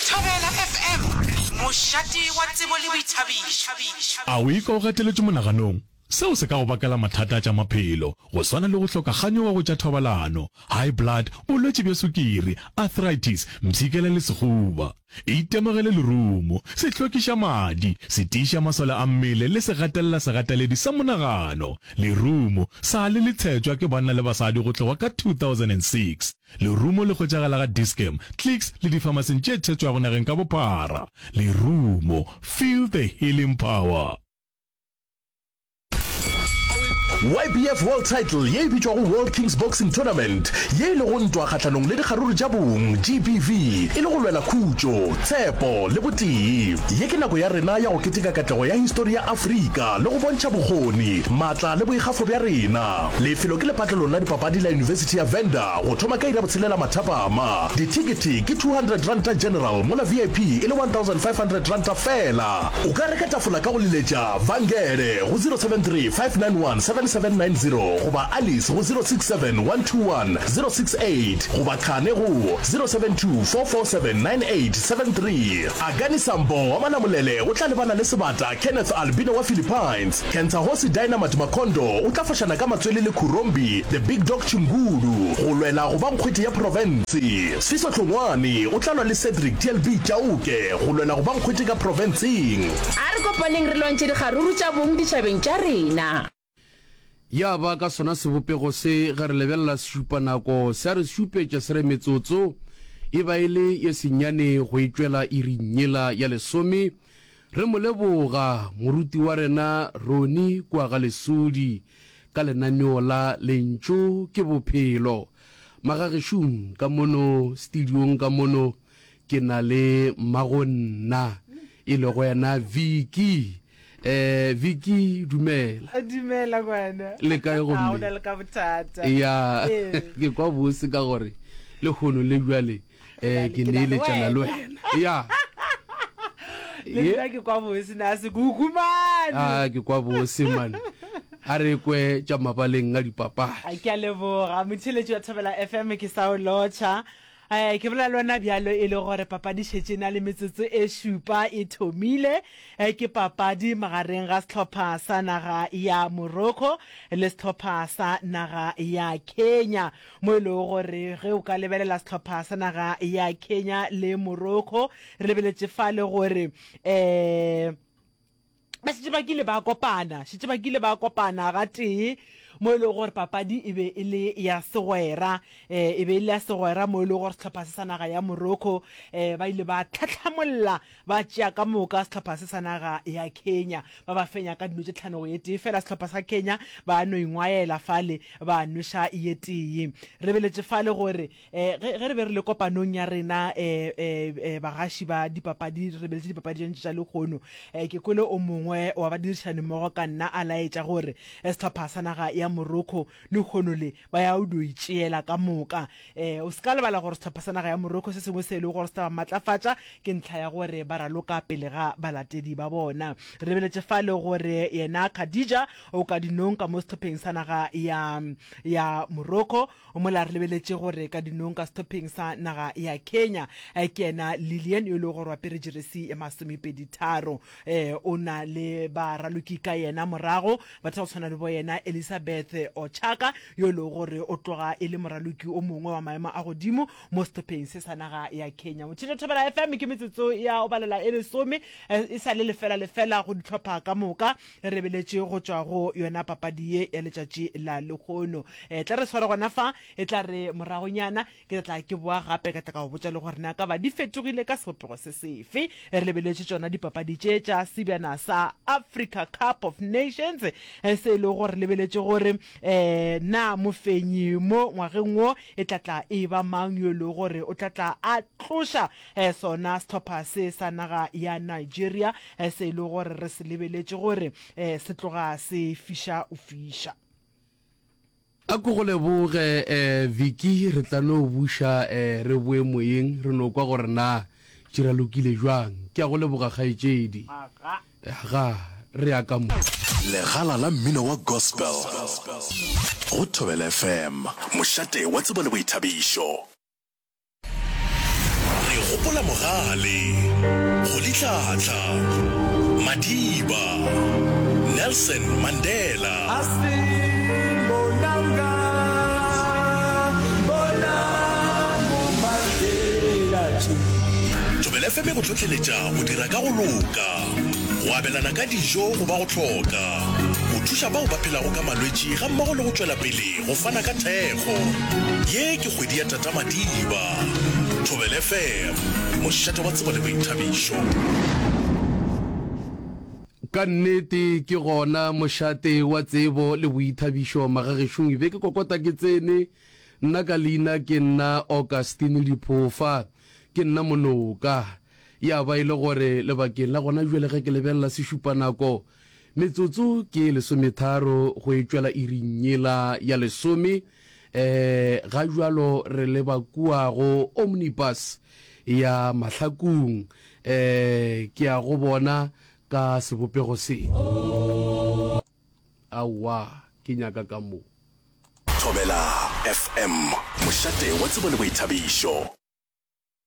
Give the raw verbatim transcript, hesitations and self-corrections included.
Thobela F M, mošate wa tsebo le boithabišo. A o ikwa o gateletšwe monaganong? Seo se ka go bakela mathata a tša maphelo, go swana le go hloka kganyogo go tša thobalano, high blood, bolwetši bja sukiri, arthritis, mpshikela le sehuba. Itemogele lerumo, se hlwekiša madi, se tiiša masole a mmele le se gatelela segateledi sa monagano. Lerumo sa le le tshetšwa ke banna le basadi go tloga ka two thousand and six Lerumo le hwetšagala ga Dis-Chem, Clicks le difamasing tše tshetšwago nageng ka bophara. Lerumo, feel the healing power. Y B F World Title ye e bitšwago World Kings Boxing Tournament, ye e lego ntwa kgahlanong le dikgaruru tša bong, G B V, e le go lwela khutšo, tshepo le botee. Ye ke nako ya rena ya go keteka katlego ya histori ya Afrika le go bontšha bokgoni, maatla le boikgafo bja rena. Lefelo ke lepatlelong la dipapadi la Yunibesithi ya Venda go thoma ka iri ya botshelela mathapama. Dithekethe ke two hundred ranta general mola V I P e le one thousand five hundred ranta fela. O ka reka tafola ka go leletša Vangele go zero seven three five nine one seven seven nine zero goba Alice go zero six seven one two one zero six eight goba Khane go zero seven two four four seven nine eight seven three. Akani Sambo wa Malamulele o tla lebana le Sebata Kenneth Albino wa Philippines. Kentsahosi Dynamite Makondo o tla fošana ka matswele le Khurombi The Big Dog Chingulu go lwela go ba nkgwete ya profense. Sfiso Hlongwane o tla lwa le Cedric T L B Chauke go lwela go ba nkgwete ka profenseng. A re kopaneng re lwantšhe dikgaruru tša bong ditšhabeng tša rena. Ya ba ka sona sebopego se ge re lebelela sešupanako se a re šupetša se re metsotso e ba e le ye senyane go e tšwela iring yela ya lesome. Re mo leboga moruti wa rena Ronnie kua ga Lesodi ka lenaneo la Lentšu ke Bophelo. Magagešung ka mono studiong ka mono ke na le mmagonna e lego yena Vicky. Eh Vicky, dumela. Dumela ngwana. Le kae gomme? A o na le ka bothata. Ya, ke kwa bose ka gore lehono le bjale eh ke neeletšana le wena. Ya. Le nna ke kwa bose na se kuku man. Ah ke kwa bose man. A re kwe tša mabaleng a dipapadi. Ke a leboga motheeletši wa Thobela F M, ke sa o lotšha. Eh, ke bolela le wena bjalo e le gore papadi šetše e na le metsotso e šupa e thomile. Eh, ke papadi magareng ga sehlopha sa naga ya Morocco le sehlopha sa naga ya Kenya. Mo e lego gore ge o ka lebelela sehlopha sa naga ya Kenya le Morocco, re lebeletše fale gore eh ba šetše ba kile ba kopana, šetše ba kile ba kopana gatee mo e lego gore papadi e be e le ya segwera, eh, e be e le ya segwera mo e lego gore sehlopha se sa naga ya Morocco eh, ba ile ba tlhatlhamolla ba tšea ka moka sehlopha se sa naga ya Kenya, ba ba fenya ka dino tše tlhano go ye tee fela. Sehlopha sa Kenya ba no ingwaela fale ba nweša ye tee. Re beletše fale gore eh, ge, ge re be re le kopanong ya rena eh, eh, eh, bagaši ba dipapadi, re lebeletše dipapadi tše ntši tša lehono, eh, ke kwele o mongwe wa badirišani mmogo ka nna a laetša gore eh, sehlopha sa naga ya Morocco lehono le ba ya o dio itšeela ka moka. Eh, o se ka lebala gore sehlopha sa naga ya Morocco se sengwe se e lego gore se tla ba matlafatša ke ntlha ya gore ba raloka pele ga balatedi ba bona. Re lebeletše fale gore yena Khadija o ka dinong ka mo sehlopheng sa naga ya, ya Morocco, mola re lebeletše gore ka dinong ka sehlopheng sa naga ya Kenya ke yena Lilian yo e lego gore o apere jeresi ya masomepedi tharo. Eh, o na le baraloki ka yena morago, batho ba go tshwana le bo yena Elizabeth Ochaka yo e lego gore o tloga e le moraloki o mongwe wa maemo a godimo mo sehlopheng se sa naga ya Kenya. Motšhitšo Thobela F M, ke metsotso ya o balela e lesome e sa le lefela lefela go dihlopha ka moka. Re lebeletše go tšwa go yona papadi ye ya letšatši la lehono. E tla re sware gona fa, e tla re moragonyana ke tla tla ke boa gape ka tla ka go botša le gore na ka ba di fetogile ka sebopego se sefe. Re lebeletše tšona dipapadi tše tša sebjana sa Africa Cup of Nations se e lego gore lebeletše gore um na mofenyi mo ngwageng wo e tla tla e ba mang yo e lego gore o tla tla a tloša sona sehlopha se sa naga ya Nigeria se e lego gore re se lebeletše gore se tloga se fiša o fiša. A ko go leboge eh, Vicky, re tla no buša eh, re boe moyeng re no kwa gore na tši ralokile jwang. Ke a go leboga kgaetšedi. Aga, re ya ka mo. Legala la mmino wa gospel go Thobela F M, mošate wa tsebo le boithabišo. Re Gopola Mogale, Rolihlahla, Madiba, Nelson Mandela. Thobela F M e go hlohleletša go dira ka go loka, go abelana ka dijo go ba go hloka, go thuša bao ba phelago ka malwetši gammogo le go tšwela pele go fana ka thekgo. Ye ke kgwedi ya Tata Madiba. Thobela F M, mošate wa tsebo le boithabišo. Ka nnete ke gona mošate wa tsebo le boithabišo magagešong. Be ke kokota ke tsene, nna ka leina ke nna Augustine Diphofa, ke nna Monoka. Ya ba e le gore lebakeng la gona bjale ge ke lebelela sešupanako, metsotso ke e lesometharo go e tšwela iring yela ya lesome. Um ga bjalo re leba kua go Omnibus ya Mahlakung. Um ke ya go bona ka sebopego se. Aowa, ke nyaka ka mo. Thobela F M, mošate wa tsebo le boithabišo.